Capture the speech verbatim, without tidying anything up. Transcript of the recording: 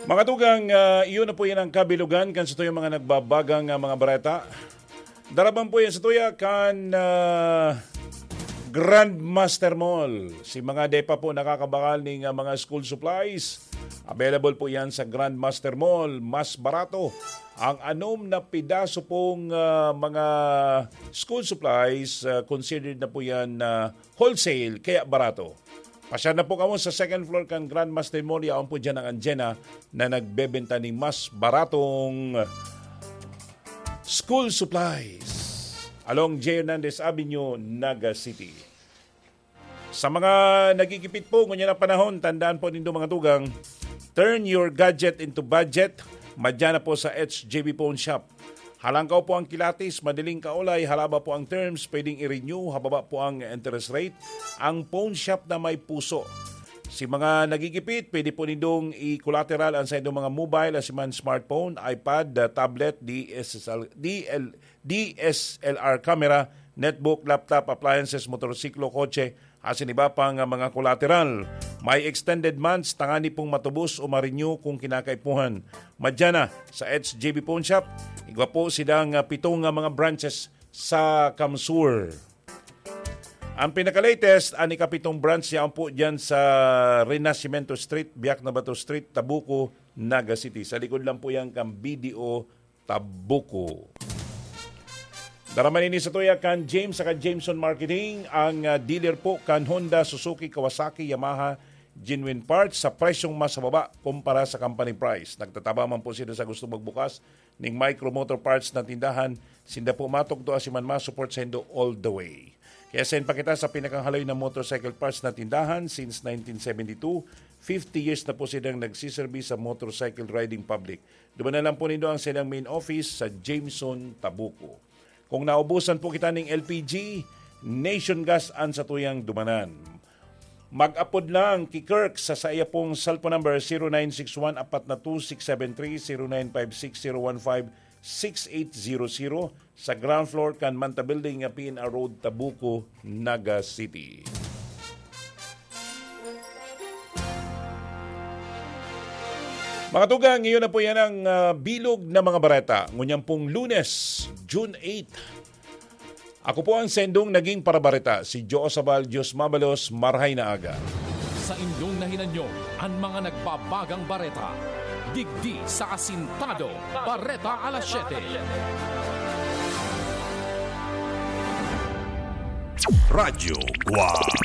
Mga tugang, ah, iyo na po yan ang kabilugan kan satuyang mga nagbabagang, ah, mga bareta. Daraban po yan sa tuya kan, ah, Grandmaster Mall. Si mga di pa po nakakabakal ning, ah, mga school supplies, available po yan sa Grandmaster Mall. Mas barato ang anom na pidaso pong, ah, mga school supplies, ah, considered na po yan na wholesale, kaya barato. Pasyar na po kamo sa second floor kan Grandmaster Mall. Yaon po dyan ang Anjena na nagbebenta ning mas baratong school supplies along J. Hernandez Avenue, Naga City. Sa mga nagigipit po ngunyan ang panahon, tandaan po nindo, mga tugang, turn your gadget into budget. Madya na po sa H J B Phone Shop. Halangkaw po ang kilatis, madaling kaolay, halaba po ang terms, pwedeng i-renew, hababa po ang interest rate. Ang phone shop na may puso. Si mga nagigipit, pwede po nindong i-collateral ang sa inyong mga mobile, asiman smartphone, iPad, uh, tablet, D S L, D L, D S L R camera, netbook, laptop, appliances, motorsiklo, kotse, asin iba pang, ah, mga collateral. May extended months, tangani pong matubos o ma-renew kung kinakaipuhan. Madya na sa H J B Phone Shop, igwa po sidang, ah, pitong, ah, mga branches sa Kamsur. Ang pinaka-latest, ang ikapitong branch niya po dyan sa Renacimiento Street, Biak na Bato Street, Tabuco, Naga City. Sa likod lang po yan kan B D O Tabuco. Daraman ini sa tuya kan James saka Jameson Marketing, ang, ah, dealer po kan Honda, Suzuki, Kawasaki, Yamaha, genuine parts sa presyong mas mababa kumpara sa company price. Nagtataba man po sila sa gusto magbukas ning micro motor parts na tindahan. Sinda po matukdo asiman ma-support saindo all the way. Kaya send pa kita sa pinakahaloy na motorcycle parts na tindahan since nineteen seventy-two. Fifty years na po silang nagsiserbi sa motorcycle riding public. Dumanan lang po nindo ang silang main office sa Jameson, Tabuco. Kung naubusan po kita ning L P G, Nation Gas an satuyang dumanan. Mag-apod lang ki Kirk sa saiya pong cellphone number, zero nine six one apat na two six seven three, zero nine five six zero one five six eight zero zero, sa ground floor kan Manta Building, P N R Road, Tabuco, Naga City. Mga tugang, iyon na po yan ang, ah, bilog na mga bareta. Ngunyan pong Lunes, June eight. Ako po ang sendong naging parabareta, si Joe Sabal Dios Mabalos, marhay na aga. Sa inyong nahinanyo, an mga nagbabagang bareta. Digdi sa Asintado, Bareta Alas Siyete. Radyo Guwang.